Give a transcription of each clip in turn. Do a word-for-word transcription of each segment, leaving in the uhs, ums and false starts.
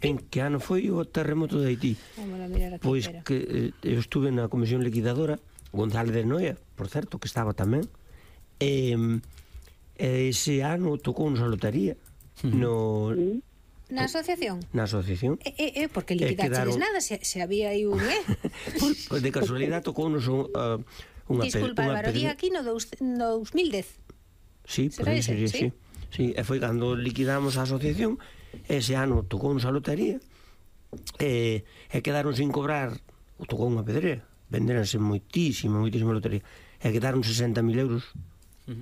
En que ano foi o terremoto de Haití? Pois que eh, eu estuve na comisión liquidadora, González de Noia, por certo, que estaba tamén, e eh, ese ano tocounos a lotería no... Na asociación? Na asociación. E, e, porque liquidaches quedaron... nada, se, se había aí un... Eh? Pois de casualidade tocounos un, uh, unha... Disculpa, Álvaro, di aquí no, dos, no dos mil dez. Sí, por aí sería, sí. Sí, e foi cando liquidamos a asociación. Ese ano tocounos a lotería e, e quedaron sin cobrar, tocou unha pedrea, venderanse moitísima, moitísima lotería, e quedaron sesenta mil euros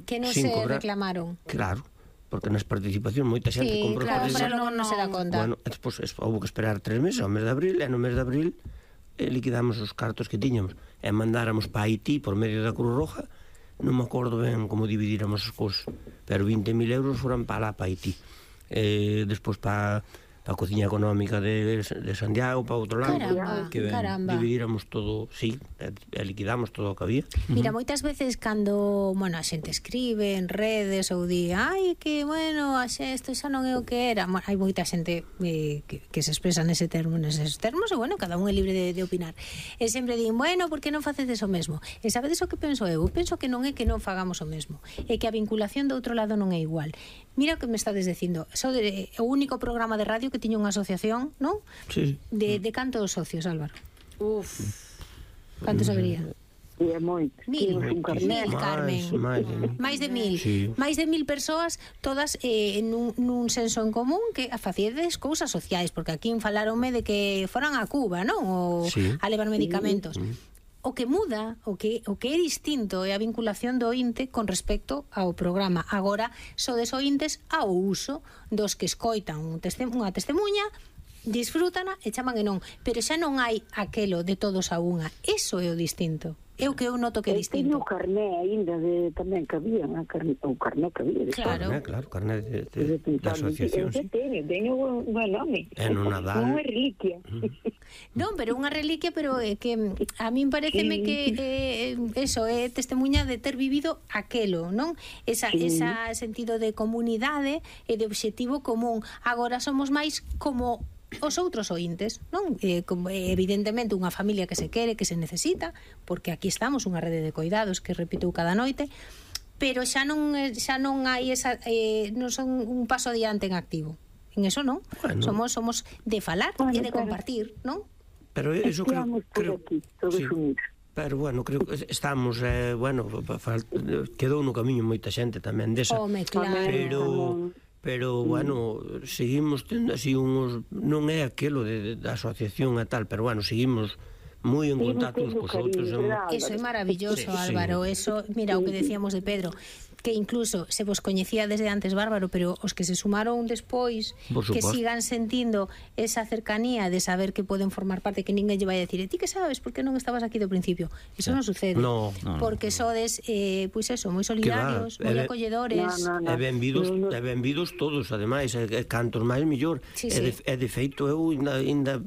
que non se cobrar. Reclamaron. Claro, porque nas participacións moita xente sí, comprou. Claro, pero non, non se dá conta. Bueno, despois houve que esperar tres meses, ao mes de abril, e no mes de abril eh, liquidamos os cartos que tiñamos e mandáramos para Haití por medio da Cruz Roja. Non me acordo ben como dividíramos as cousas, pero vinte mil euros foran para lá, para Haití. Eh, despois para a cociña económica de, de Santiago, para outro lado. Caramba, que caramba. Dividíramos todo, sí, e, e liquidamos todo o que había. Mira, moitas veces cando, bueno, a xente escribe en redes ou di, ai, que, bueno, a xe, isto xa non é o que era. Bueno, hai moita xente eh, que, que se expresa nese termo, neses termos, e, bueno, cada un é libre de, de opinar. E sempre din, bueno, por que non facedes o mesmo? E sabedes o que penso eu? Eu penso que non é que non fagamos o mesmo, é que a vinculación do outro lado non é igual. Mira o que me estades dicindo, so de, o único programa de radio que tiña unha asociación, non? Sí. De, de cantos socios, Álvaro? Uf. Cantos habería? E é moito. Mil, mil, Carmen. Máis de mil. Máis de mil. Sí. Máis de mil persoas, todas eh, nun, nun senso en común que facedes cousas sociais, porque aquí falaronme de que foran a Cuba, non? Ou sí. a levar medicamentos. Sí. O que muda, o que, o que é distinto é a vinculación do ointe con respecto ao programa. Agora, sodes ointes ao uso dos que escoitan un testem unha testemunha, disfrútana e chaman e non. Pero xa non hai aquelo de todos a unha. Eso é o distinto. É o que eu noto que é distinto. Teño o carné aínda de tamén que había, o carné que había. Claro, carné, claro, carné de, de, de, de asociación. Sí. Teño, teño un buen nome. É no Nadal. Unha reliquia. Non, pero unha reliquia, pero é que a min pareceme que eh, eso é testemunha de ter vivido aquelo, non? Esa, sí. esa sentido de comunidade e de obxectivo común. Agora somos máis como os outros ointes, non? Eh, como, evidentemente unha familia que se quere, que se necesita, porque aquí estamos unha rede de coidados que repito cada noite, pero xa non xa non hai esa eh, non son un paso adiante en activo. En eso non. Bueno. Somos somos de falar bueno, e de claro. compartir, non? Pero eso creo, creo aquí, todos sí. unidos. Pero bueno, creo que estamos eh, bueno, quedou no camiño moita xente tamén desa. Home, claro. Pero pero bueno, seguimos tendo así uns, non é aquelo de, de, da asociación e tal, pero bueno, seguimos moi en contacto uns cos outros. Eso é maravilloso, sí, Álvaro, sí. Eso, mira o que decíamos de Pedro, que incluso se vos coñecía desde antes Bárbaro, pero os que se sumaron despois, que sigan sentindo esa cercanía de saber que poden formar parte, que ninguén lle vai a decir, e ti que sabes, por que non estabas aquí do principio? Eso sí. non sucede. No, no, porque no. sodes, eh, pois eso, moi solidarios, moi acolledores. No, no, no. E benvidos, no, no. e benvidos todos, ademais, e, e cantos máis mellor. Sí, e, de, sí. e de feito, eu ainda, ainda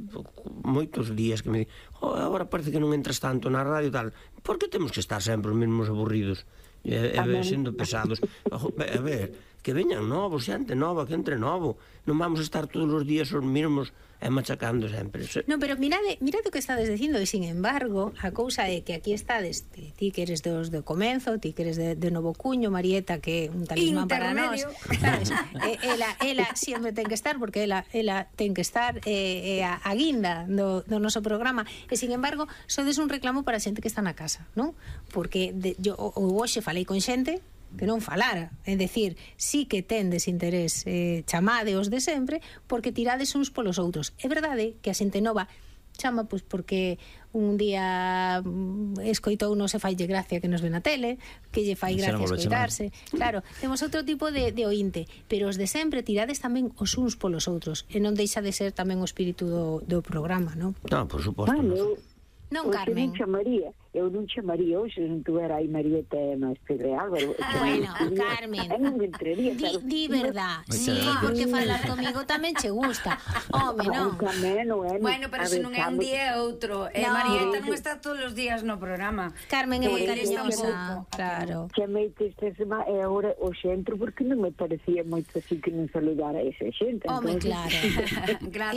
moitos días que me di, oh, agora parece que non entras tanto na radio e tal. Por que temos que estar sempre os mesmos aburridos? E, e sendo pesados. A ver, que veñan novos, xente nova, que entre novo. Non vamos a estar todos os días os mesmos e machacando sempre. Non, pero mirade, mirade o que estades dicindo, e sin embargo, a cousa é que aquí estades, ti que eres dos de comenzo, ti que eres de, de Novo Cuño, Marieta, que é un talismán para nós, sabes? E, ela, ela sempre ten que estar, porque ela, ela ten que estar eh, eh, a, a guinda do, do noso programa, e sin embargo, sodes un reclamo para a xente que está na casa, non? Porque de, yo, o, o hoxe falei con xente que non falara, é dicir, sí que tendes interés, eh, chamadeos de sempre, porque tirades uns polos outros. É verdade que a xente nova chama pois porque un día escoitou non se faille gracia que nos ve na tele, que lle fai gracia escoitarse. Claro, temos outro tipo de, de ointe, pero os de sempre tirades tamén os uns polos outros, e non deixa de ser tamén o espírito do, do programa, non? Non, por suposto. Bueno, Non, Hoxe Carmen. non chamaría, eu non chamaría hoxe, se non tuvera aí Marieta e máis Pedro e Álvaro. Bueno, Carmen, Eu non me entraría, di, pero... di verdad, Moitas sí, gracias. porque falar comigo tamén che gusta. Home, non. Tamén, non é... Bueno, pero se non é un día é outro. E No. Marieta non está todos os días no programa. Carmen é moi Eh, cariñosa, tampouco. claro. Chamei-te esta semana e agora o centro porque non me parecía moito así que non saludara a esa xente. Home, Entonces, claro. Claro.